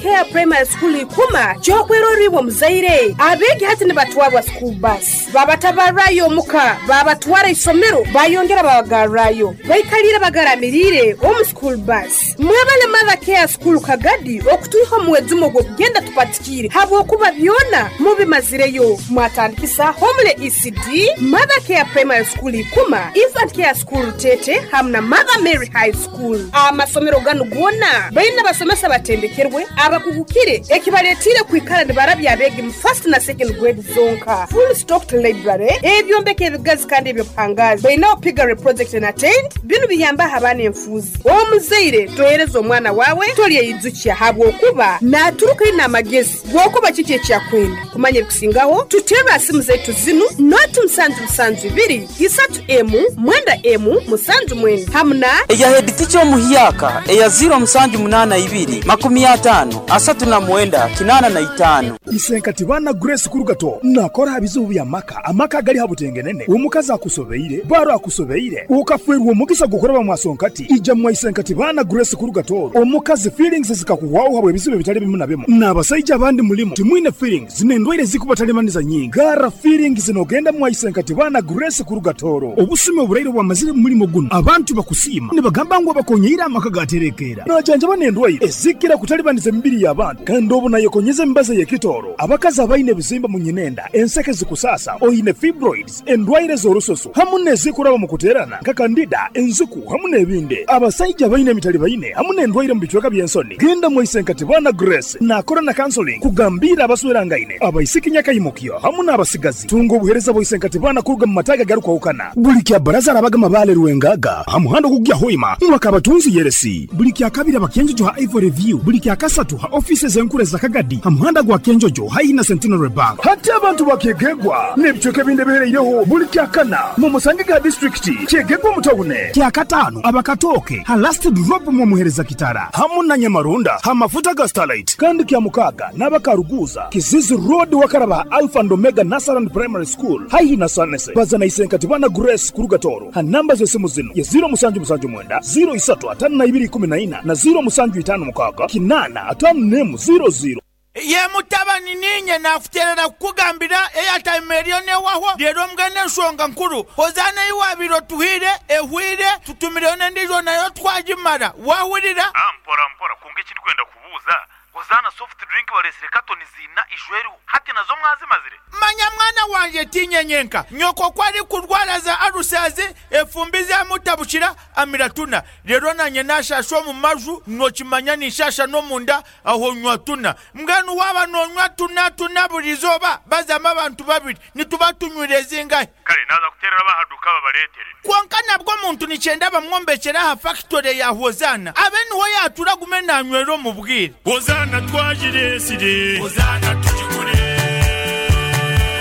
Care Primary School Ikuma ky'okwerorra iwe omuzaire. Abeegi hati nibatwarwa school bus, babatabarrayo omuka, babatwara isomero, bayongera babagarrayo. Baikaliire bagaramiriire omu school bus. Mwebale Mother Care School Kagadi okutwiha omu mwejumo gw'okugenda tupatikiire habwokuba byona mubimazireyo. Mwatandikisa Homely ECD, Mother Care Primary School Ikuma, Infant Care School Rutete hamu na Mother Mary High School. Amasomero ganu goona baine abasomesa abatendekerwe, abakugukire ekibaletiire kwikara nibarabya abeegi mu first na second grade zonka. Full stocked library, ebyombeko ebigazi kandi eby'obuhangaazi. Baineho piggery project na tent, binu biyambaho abaana enfuuzi. Omuzaire tohereza omwana waawe tolyeyijukya habwokuba naaturuka aine amagezi g'okuba kiki eki akwenda. Kumanya ebikusingaho, tuterre ha simu zaitu zinu, noti musanju musanju ibiri, isatu emu, mwenda emu, musanju mwenda hamu na. Eya heditica omuhyaka eya ziiro musanju munaana ibiri, makumi ataano, asatu na mwenda, kinaana na itaano. Isenkati baana Grace Kurugato nakora ha bizibu by'amaka, amaka agali ha butengenene, omukazi akusobeire, baro akusobeire, okafwerwa omugisa gw'okuraba mwasonkati, ija mwa Isenkati baana Grace Kurugato, omukazi feelings zikakuhwaho habw'ebizibu ebitali bimu na bimu, n'abasaija abandi mulimu timwine feelings n'endwaire ezikubatalibaniza nyingi, garra feelings n'ogenda mwa Isenkati baana Grace Kurugatoro. Obusumi oburaire obwamazire mu mulimo gunu, abantu bakusiima nibagamba ngu abakonyeire amaka gaterekeera. Najanjaba n'endwaire ezikira kutalibaniza emibiri y'abantu kandi obu nayekonyeza emibazi ey'ekitooro. Abakazi abaine ebizimba mu nyinenda, enseke zikusaasa, oine fibroids, endwaire z'orususu hamu n'ezikuraba mu kuteerana nka kandida, enziku hamu n'ebindi. Abasaija abaine emitalibaine hamu n'endwaire mu bicweka by'ensoni, genda mwaise Nkatibana Grace naakora na counseling kugambiira abaswerangaine, abaisiki nyakaimukyo hamu n'abasigazi. Tunga obuheereza bwa Isenkatibana kuruga mu mataagi agarukwahukana. Buli kya Baraza arabaga Mabaale Rwengaga ha muhanda ogukugya Hoima mwaka Abatunzi Yeresi. Buli kya Kabiri aba Kyenjojo ha Ivory View. Buli kya Kasatu ha ofiisi ez'enkuru eza Kagadi ha muhanda gwa Kyenjojo haihi na Centenary Bank. Hati abantu ba Kyegegwa n'ebicweka ebindi ebihereireho buli kya Kana mumusangege ha disiturikiti Kyegegwa omu tawune. Kya Kataano aba Katooke ha Last Drop mwomuhereza Kitara hamu na Nyamarunda ha mafuta ga Starlight. Kandi kya Mukaaga n'aba Karuguuza, Kizizi Road wakaraba ha Alpha and Omega Nursery and Primary School haihi na Sanese. Baza na Isenkatibana Grace kuruga Tooro ha namba z'esimu zinu ye ziiro musanju musanju mwenda, ziiro isatu ataano na ibiri ikumi na ina na ziiro musanju itaano mukaaga kinaana ataano n'emu ziiro ziiro. Ye mutabani, niinye naakuteerera kukugambira eyataima eriyo n'ewahwo. Reero mbwenu enshonga nkuru, Hozaana ei waabaire otuhaire ehweire, tutumireyo n'endiijo nayo twagimara. Waahurira? Mpora mpora, kwonka eki ndikwenda kubuuza, Hozaana soft drink bareetsire katoni ziina ijo eriho, hati nazo mwazimazire? Manya mwana wangye, tiinye nyenka. Nyoko ku arikurwara za alusazi, efumbi zamutabukira, amira tuna. Reero naanye naashaasha omu maju, nookimanya ninshaasha n'omunda, aho nywa tuna. Mbwenu waaba noonywa tuna tuna buri izooba, bazamu abantu babiri, nituba tunywire zingahi? Kare naaza kuteerera ab'aha duuka babareetere. Kwonka nabwo omuntu nikyenda bamwombekyere aha fakitore ya Hozaana, abe niho yaatuura agume naanywera omu bwire. Hozaana twagireetsire. Hozaana tugigure.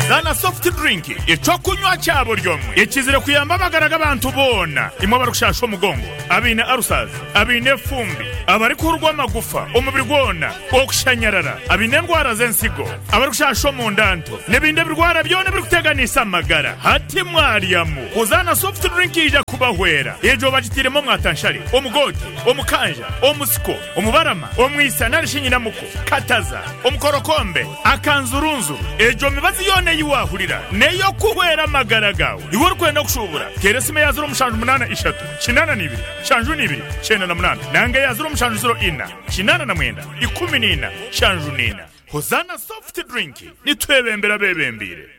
Zaana Soft Drink, eky'okunywa kya buri omwe ekizire kuyamba amagara g'abantu boona. Imwe abarikushasha omugongo, abaine ulcers, abaine efumbi, abarikuhurwa amagufa omubiri gwona, okushanyarara, abaine endwara z'ensigo, abarikushasha omunda nto, n'ebindi ebirwara byona ebirikuteganisa amagara. Hati mwaryamu, Hozaana Soft Drink yaija kubahwera. Egyo bagitairemu omwatanshare, omugoote, omukanja, omusiko, omubarama, omwisa nari shi nyinamuko, kataza, omukorokombe, akanzurunzuru. Egyo mibazi yoona ei waahurira n'ey'okuhwera amagara gaawe. Iwe orikwenda kushuubura, teera esimu eya ziro mushanju munaana ishatu, kinaana na ibiri, nshanju na ibiri, kyenda na munaana nanga eya ziro mushanju ziro ina, kinaana na mwenda, ikumi na ina, nshanju na ina. Hozaana Soft Drink, nitwebembera abeebembeire.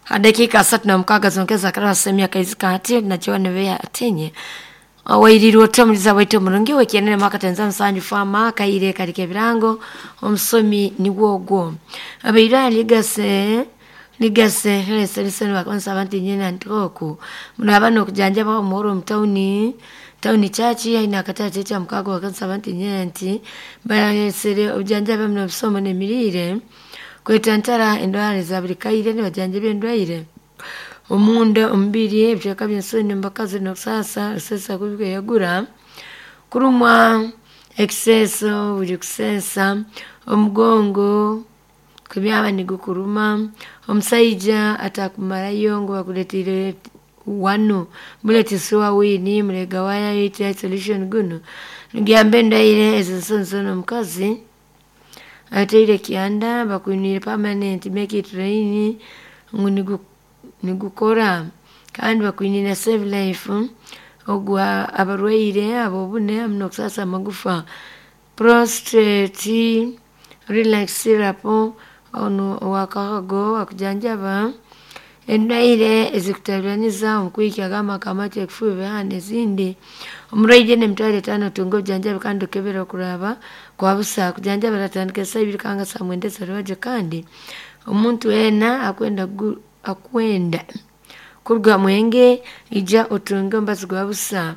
Ha dakiika 36 zonka ezakaraba sehemu ya kaizi kati najua nibeya atinye wairirwe ota omuliza waitu omurungi wekienere mwaka tenza musanju fama kaire karika ebirango omusomi nigwo ogwo abaira ligase ligase helese bakonsa abantu nyina ntoku muno abana okujanjaba omuhoro omu tauni tauni chachi aina akatale kya mukago bakonsa abantu nyina nti balesere obujanjabi muno obusomo n'emirire kwetantara endwara za buli kaire nibajanjaba endwaire omunda omubiri ebicweka by'ensoni omu bakazi n'okusaasa kusesa kubikweyagura kurumwa ekiseeso buri kuseesa omugongo kubyaba nigukuruma omusaija atakumarayo ngu bakureteire wanu muleti suwa wini mulega waya UTI solution gunu. Niguyamba endwaire ez'ensonsono omukazi ateire kyanda bakwinire permanent make it rain ngu nigukora kandi bakwinire save life ogwa abarwaire abobune hamu n'okusasa amagufa prostate relax syrup onu owakahago akujanjaba endwaire ezikutabaniza omukwikya g'amaka amate ekifuba n'ezindi. Omurwaire n'emitwaro 5 otunga obujanjabi kandi okebera okuraba kwa busa kujanjaba aratandika esaaha 2 kanga saa 9 z'orwebagyo. Kandi omuntu weena akwenda kuruga mwenge ija otunge omubazi gwa busa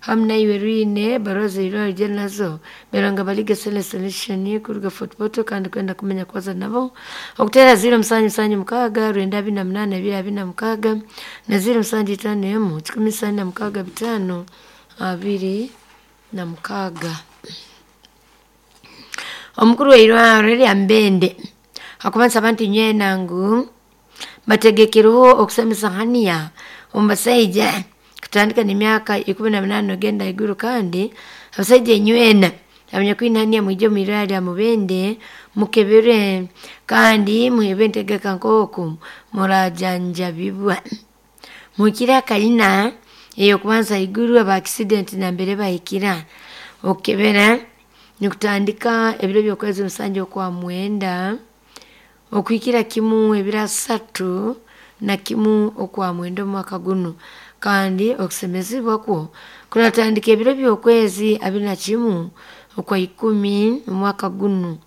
hamu naiwe rwine ebaruha z'eirwariro ije nazo Beranga Balige Sele Solution kuruga Fort Portal. Kandi kwenda kumanya kubaza nabo okutera 0776 928 226 na 0751 146 526. Omukuru w'eirwariro erya Mbende akuba nsaba nti nywena ngu bategekereho okusemesa haniya omu basaija kutandika n'emyaka 18 ogenda haiguru. Kandi abasaija enywena abanyakwine haniya mwije omu irwariro lya Mubende mukebere kandi muheebwe entegeka nk'oku murajanjabibwa. Muhikire akayina ey'okubanza haiguru aba accident nambere bahikira. Okukebera nikutandika ebiro by'okwezi 7 okwa 9 okuhikira kimu ebiro 31 okwa 9 omwaka gunu. Kandi okusemezibwa kwo kuratandika ebiro by'okwezi 21 okwa 10 omwaka gunu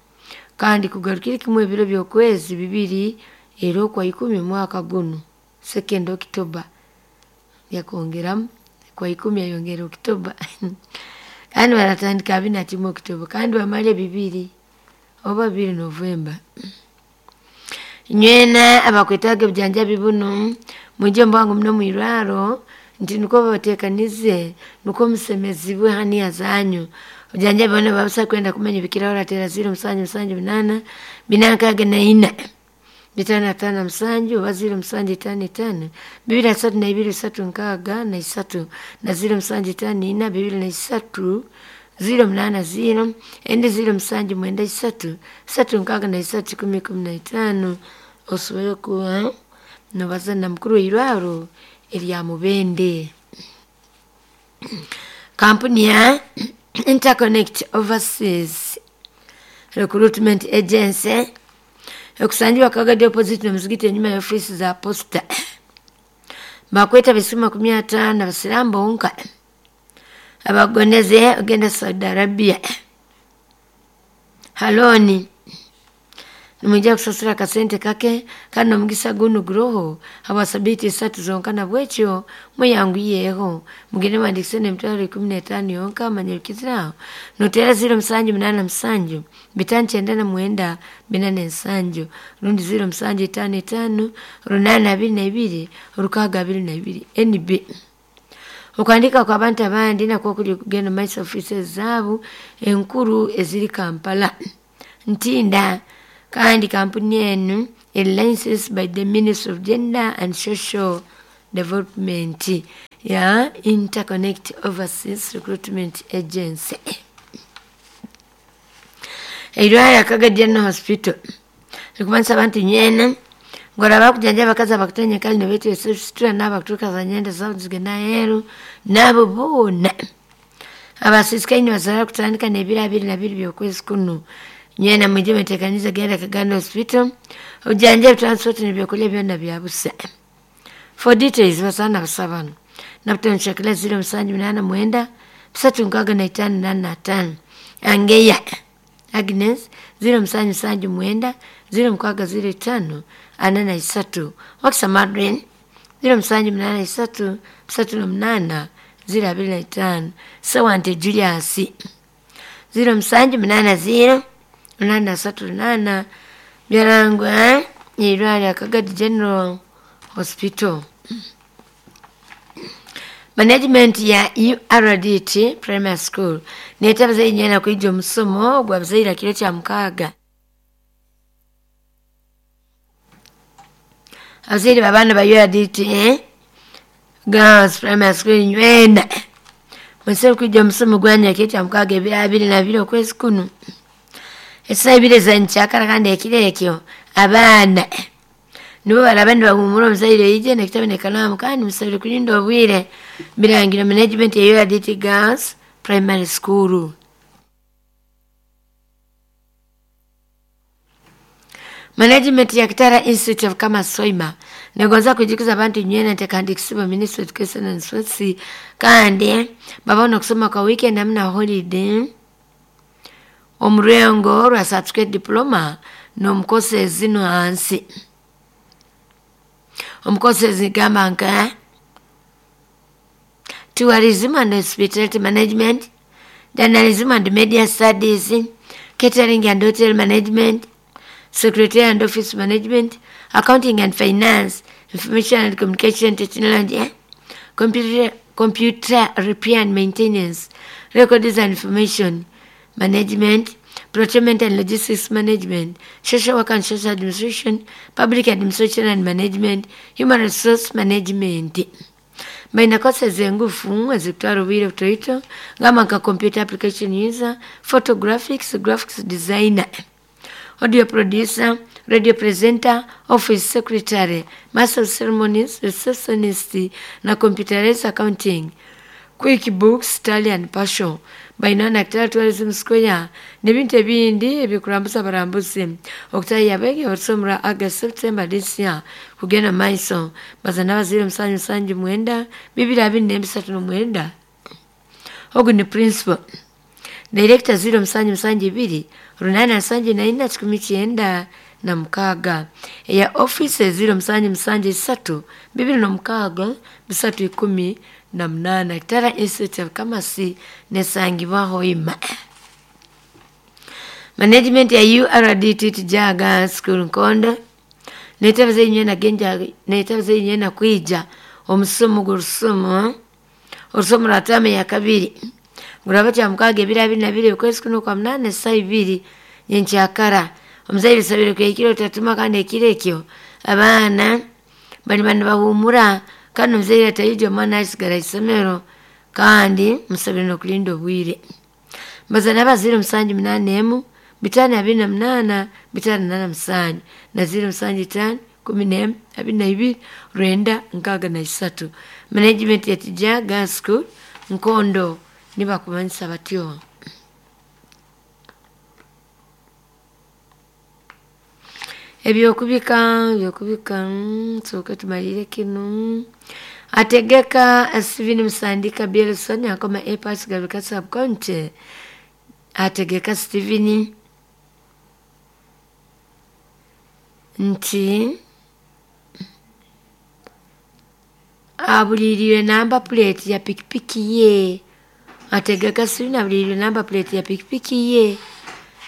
kandi kugarukire kimu ebiro by'okwezi 2 era okwa 10 omwaka gunu, 2nd October. Yakongeramu kwa 10 yayongera October kandi baratandika 21 October kandi bamale 2 oba 2 November. Nywena abakwetaaga obujanjabi bunu mwije omu bwangu muno omu irwariro nti nukwo babateekanize nukwo musemezibwe haniya zanyu. Obujanjabi boona buba kwenda kumanya ebikiraho orateera 0778 464 557 oba 0755 232 363 na 0754 23 080 endi 0793 363 1015 osobole kuba nobaza na mukuru w'eirwariro erya Mubende. Kampuni ya Interconnect Overseas Recruitment Agency ekusangiwa Kagadi opposite n'omuzigiti enyuma ya ofiisi za posta bakweta abasimu 50 abasiraamu bonka abagondeze ogenda Saudi Arabia haloni. Nimwija kusasura akasente kake kandi omugisa gunu guroho habwa sabiiti 3 zonka, nabwekyo mweyanguyeho mugende mwandikise n'emitwaro 15 yonka. Manyirikiziraho notera 0787 599 47 rundi 0755 822 622 NB. Okuandika kwa abantu abandi nakwo kuli kugenda maiso ofisi zaabu enkuru eziri Kampala Ntinda. Kandi kampuni enu eri licensed by the Ministry of Gender and Social Development ya Interconnect Overseas Recruitment Agency. Eirwariro Kagadi General Hospital rikuba nsaba nti nywena ngoraba kujanja abakazi abakutanya kali nibeetesa esitura n'abakuturuka za nyenda zaabo zigenda aheeru n'abo boona abasisikaine basobora kutandika n'ebiro 22 by'okwezi kunu. Nywena mwije mwetekanize genda Kagadi Hospital obujanjabi, transport n'ebyokulya byona bya busa. For details basaana basabano nabutono shakila 0789 365 85 Angeya Agnes 0779 0605 43 Wakisa Madrin 0783 38 025 Sewante Julius 0780 838 Byarangwa irwariro Kagadi General Hospital. Management ya URDT Primary School neeta abazaire nywena kwija omusomo gwa bazaire kiro kya 6. Abazaire b'abaana ba URDT Girls Primary School nywena Mwesere kwijja omusomo gwanya kekya mukaaga ebiro abiri na bibiri okwezi kuno. Esaa ibiri ezankyakara kandi ekiro ekyo abaana nibo baraba nibahumura omuzaire oije nekitabu nekalaamu kandi musabire kulinda obwire birangiro management ya URDT Girls Primary School. Management ya Kitara Institute of Commerce Soima negonza kujikuza abantu nywena nti kisibo Ministry of Education and Sports kandi babona okusoma kwa weekend hamwe na holiday omurengo rwa certificate diploma n'omukosi zino hansi omukosi zigamba nka tourism and hospitality management, journalism and media studies, catering and hotel management, secretary and office management, accounting and finance, information and communication technology, computer repair and maintenance, records and information management, procurement and logistics management, social work and social administration, public administration and management, human resource management. Baina kosa zengufu ezikutwara obwire butoito ngamba nka computer application user, photographics, graphics designer, audio producer, radio presenter, office secretary, master of ceremonies, receptionist na computerized accounting, QuickBooks, Tally and Passion. Baina na Kitara Tourism Square n'ebintu ebindi ebikurambuza abarambuzi okutaaha abegi okusomera August September this year kugenda maiso bazana abazire 779 223 ogu ni principal director 0772 874 96 eya office 0773 206 318 Kitara Institute of Commerce nesangibwa Hoima. Management ya URDT Tijaga School Nkondo netabaza inywe genja netabaza inywe na kwija omusomo gw'orusomo orusomo rwa tame ya kabiri nguraba kya mukaga ebiro abiri na bibiri okwezi kuno kwa munana esaa ibiri nyenkyakara omuzaire sabire kwekiro tatuma kandi ekiro ekyo abaana bali bani bahumura kandi omuzaire atayija omwana asigara isomero kandi musabire n'okulinda obwire. Bazana abazire 781 528 587 na 075 11 22 963. Management ya Tijaga School Nkondo nibakumanyisa batyo. Ebyokubika soka tumalire kino. Ategeka Steven Musandika Bielson akoma Airpass Garuka sub county. Ategeka Steven nti abuliriwe namba plate ya pikipiki ye. Ategeka Steven abuliriwe namba plate ya pikipiki ye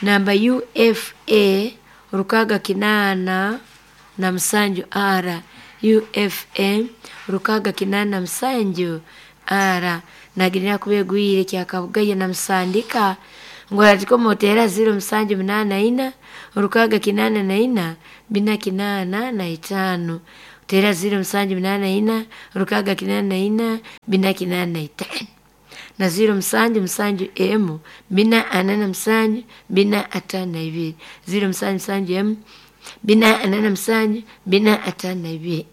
namba UFA 687 R UFA 687 R naginira kubegwire kya Kabugaya na Musandika ngora motera 0784 684 485 tera 0784 684 485 na 07 M 447 452 07 M 447 452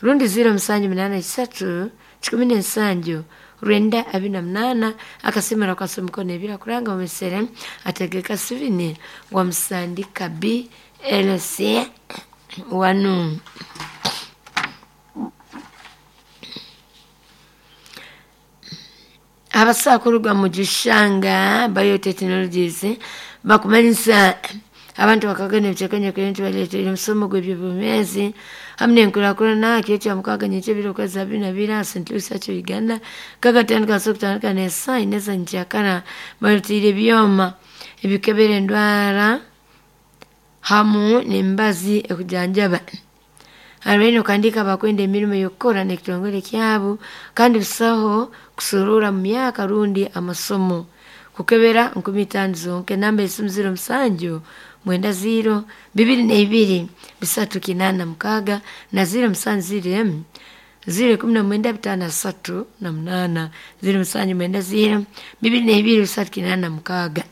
rundi 0783 17 rwenda 28 akasimira kwa somukono ebira kuranga omesere ategeka Sivini wa Musandika BLC wanu. Abasakuruga mu Gishanga Biotechnologies bakumanyisa abantu bakagana ebicekanya kuyintu baleetera omusomo gw'ebyobumezi hamwe n'enkurakurana kiro kya mukaaga nyekyo ebiro okwezi abiri na bibiri aha St. Louis Church Uganda kagatandika kutandika n'esaa ina ezankyakara baleeteire ebyoma ebikebera endwara hamu n'emibazi ekujanjaba. Hariho okandika bakwenda emirimo y'okukora n'ekitongore kyabo kandi busaho kusurura mu myaka rundi amasomo kukebera 5000 zonke namba esimu 07 90 22 386 na 070 M 019 5 38 079 0 22 386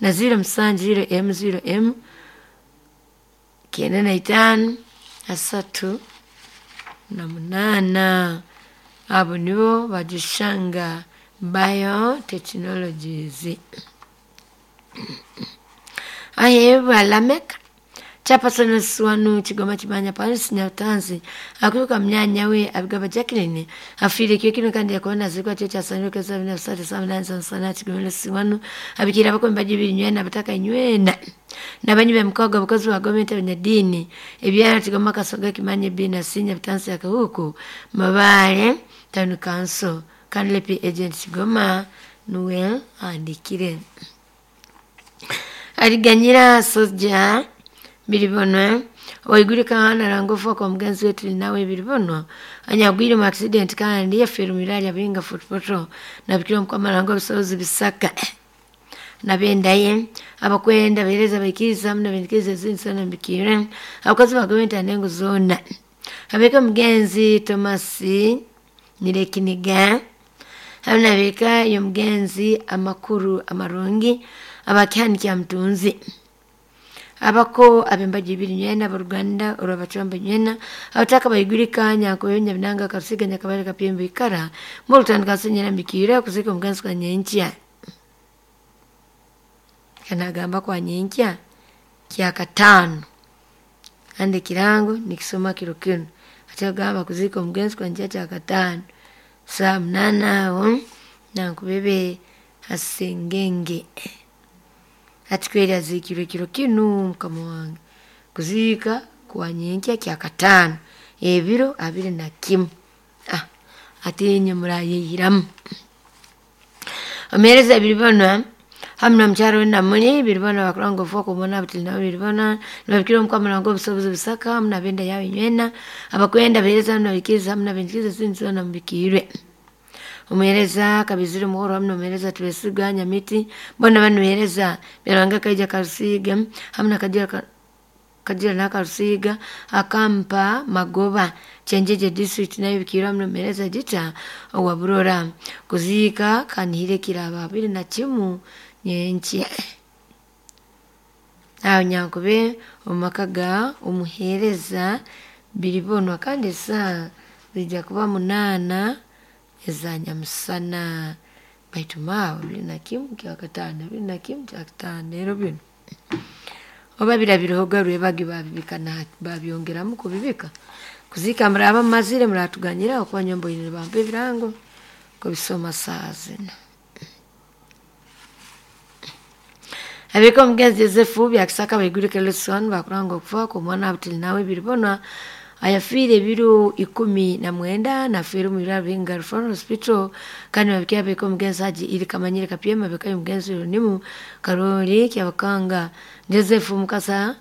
na 07 0 M 0 M 95 3 na 8. Abo nibo bagishanga biotechnologies. Aheba Lameka chapasana suwanu Chigoma Chimanya Paris Nyatanzi akuruka mnyanya we abigaba Jacqueline afire kyo kino kandi yakona zikwa cyo cyasanyo kesa bina sate samna sana Chigoma siwanu abikira bakomba jibiri nywena bataka nywena nabanyi be mkoga bukozi wa gomete abanyadini ebyara Chigoma Kasoga Kimanye bina sinya bitansi yakahuku Mabale Town Council Kanlepi agent Chigoma nuwe andikire aliganyira soja biribonwa oigurika hana rangofa kwa mugenzi wetu nawe biribonwa anyagwire mu accident kandi yafirumira abinga footpoto nabikira mukama rango bisozi bisaka nabendaye abakwenda bereza baikiriza mna bendikiriza zinsana mbikire abakozi ba gavumenti anengo zona abeka mugenzi Thomas Nirekiniga hamna yo mugenzi amakuru amarungi abakyani kya mtunzi abako abembaji ibiri nywena abaruganda olwabacwamba nywena abataka bayigurika nyankoyo binanga kasiga nyakabale kapyembe ikara mulutandika senyera mbikira kuzika omugenzi kwa nyenkya kanagamba kwa nyenkya kya katano ande kirango nikisoma kiro kino atagamba kuzika omugenzi kwa nyenkya kya katano saa 8 aho nankubebe asengenge atikweli azikirwe kiro kinu mukama wange kuzika kwa nyenkya kya katano ebiro 21 atinye murayihiramu omereza biribona hamna mcharo na muni biribona bakurango foko mona butina biribona nabikira mukama ngo busobozi bisaka hamna benda yawe nywena abakwenda bereza hamna bikiza hamna bendikiza sinzo na mbikirwe umuhereza kabizire muhoro hamna umuhereza twesiganya miti bona banuhereza biranga kaija karusiga hamna kajira kajira na karusiga akampa magoba chenjeje district nayo bikira hamna umuhereza jita owaburora kuzika kanihire kiraba 21 nyenchi aho nyankube omakaga umuhereza biribonwa kandi saa zijja kuba 8 eza nyamusana baitu mawe 21 kya katano 21 kya katano ero bino oba birabirohoga rwebagi babibika na babyongeramu kubibika kuzika muraba mazire muratuganyira okuba nyombo ine bampe ebirango kubisoma saa zino. Abeko mugenzi Yosefu byakisaka baigurike lesson bakuranga okufa ku mwana abutili nawe biribona ayafire biro 19 nafire mu biraro binga Referral Hospital kandi babikia beko mugenzi haji ili kamanyire kapyema bekayo mugenzi nimu Karoli kyabakanga Joseph Mukasa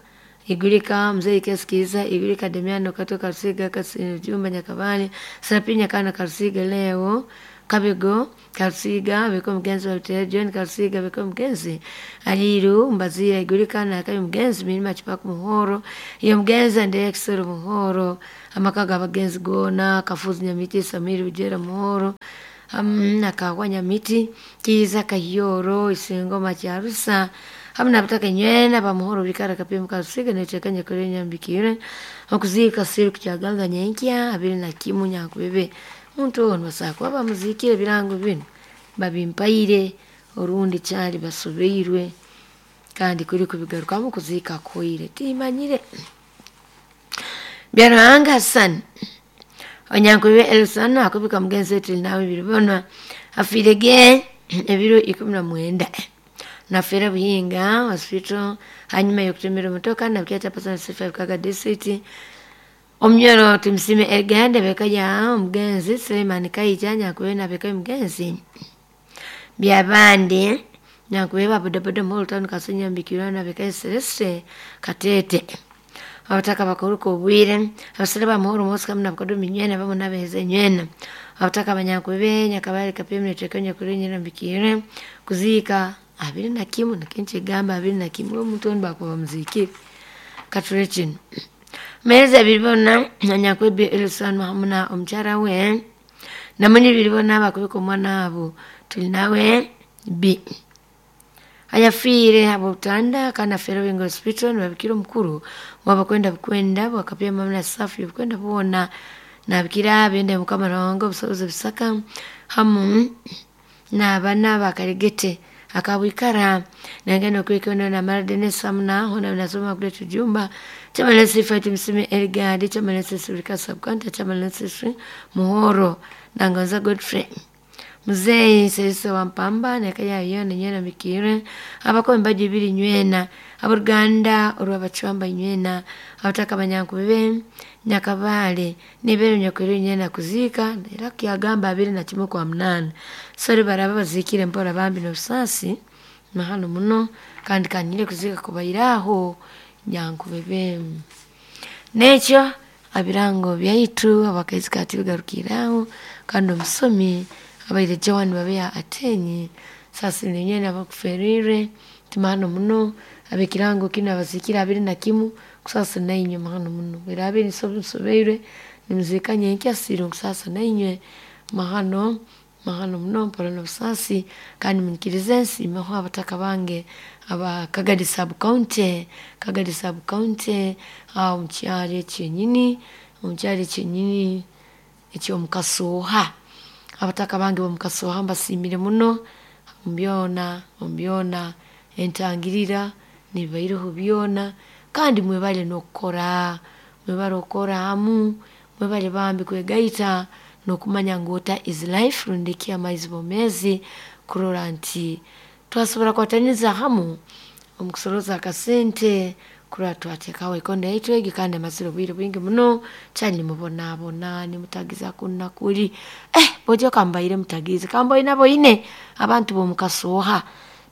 igurika mzee Kesikiza igurika Demiano katoka Karusiga Kasijumba Nyakabale Serapinya kana Karusiga leo Kabego Karusiga beko mugenzi wa Hotel John Karusiga beko mugenzi Aliru Mbazira igurika na kayo mugenzi mirima chipaku muhoro iyo mugenzi ande Exoro muhoro amakaga abagenzi gona kafuzi nyamiti Samiri Ujera muhoro nakagwa nyamiti kiza kahiyoro isingoma kyarusa hamna bataka nywena bamuhoro bikara kapimba Karusiga netekanya kore nyambikire okuzika siru kyaganga nyenkya 21 nyankubebe muntu ono basakwa bamuzikire birango bino babimpaire orundi cyari basubeirwe kandi kuri kubigarukamu kuzika koire timanyire Byaranga Hassan onyankube Elsana akubika mugenzi wetu nawe biribona afirege ebiro 19 nafera Buhinga hospital hanyuma yokutemera motoka na kyata pasana 5 kaga district omnyoro tumsime Elgande bekaja omugenzi Suleiman Kaija nyakuwe na bekayo mugenzi byabandi nyakuwe babodaboda mu town Kasenya mbikira na bekayo Celeste Katete abataka bakoruka obwire abasere bamuhoro mosika mna bakodomi nywena bamo nabeheze nywena abataka banyakuwe nyakabale kapimne tekenya kulinyira mbikire kuzika 21 na kenche gamba 21 omuntu on bakuba muziki kature kino Meza biribona nanyakwebe Elson hamuna omukyala we namunyi biribona bakubika omwana abo tuli nawe B ayafiire abutanda kana afeera Wingo Hospital nibabikira omukuru wabakwenda bukwenda bwakapya mamna safi bukwenda buwona nabikira bende mukama rongo obusobozi busaka hamu n'abana bakaregete akabwikara nangeno kwikono na maradenesa hamuna hona nasoma kule tujumba chamalesi fight msime elgadi chamalesi sulika subcounty chamalesi muhoro nangonza Godfrey muzeyi serisa wampamba nakaya yona nyena mikire abakomba jibiri nywena aboruganda olwabacwamba nywena abataka banyankubebe nyakabale nibere nyakwere nyena kuzika era kyagamba 21 kwa 8 sori baraba bazikire mpora bambi n'obusasi mahano muno kandi kanyire kuzika kubairaho nyankubebe nekyo abirango byaitu abakaizi kati bigarukiraho kandi omusomi abaire Joan babea atenyi sasa nenye abakuferire timano muno abekirango kino abazikira 21 kusasa nainywe mahano muno era abiri sobeire nimuzikanye nkyasiro kusasa nainywe mahano mahano muno mpora n'obusasi kandi munikirize nsiimeho abataka bange aba Kagadi sub county Kagadi sub county aho mukyalo ekyenyini omukyalo ekyenyini ekyomukasuuha abataka bange bomukasuuha mbasiimire muno mubyona mubyona entangirira nibaireho byona kandi mwebale n'okukora mwebale okukora hamu mwebale bambi kwegaita n'okumanya ngu water is life rundi ki amaizi bomezi kurora nti twasobora kwataniza hamu omu kusoroza akasente kurora twateekaho ekondo yaitu egi kandi amazire obwire bwingi muno kyali nimubonabona nimutagiza kunna kuli bojo kambaire mutagize kamboine boine abantu bomukasuuha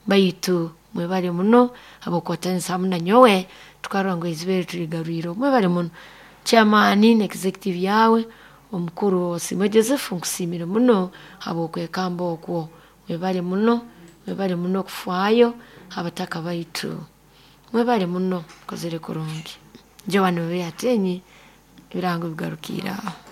baitu mwebale muno abokwatanisa hamu nanyowe tukarora ngu eizibere tuligarwire mwebale muno chairman na executive yawe omukuru Osimwe Joseph nkusiimire muno habwokwekamba okwo mwebale muno okufaayo abataka baitu mwebale muno kozere kurungi Joan Babe Atenyi ebirango bigarukire aho.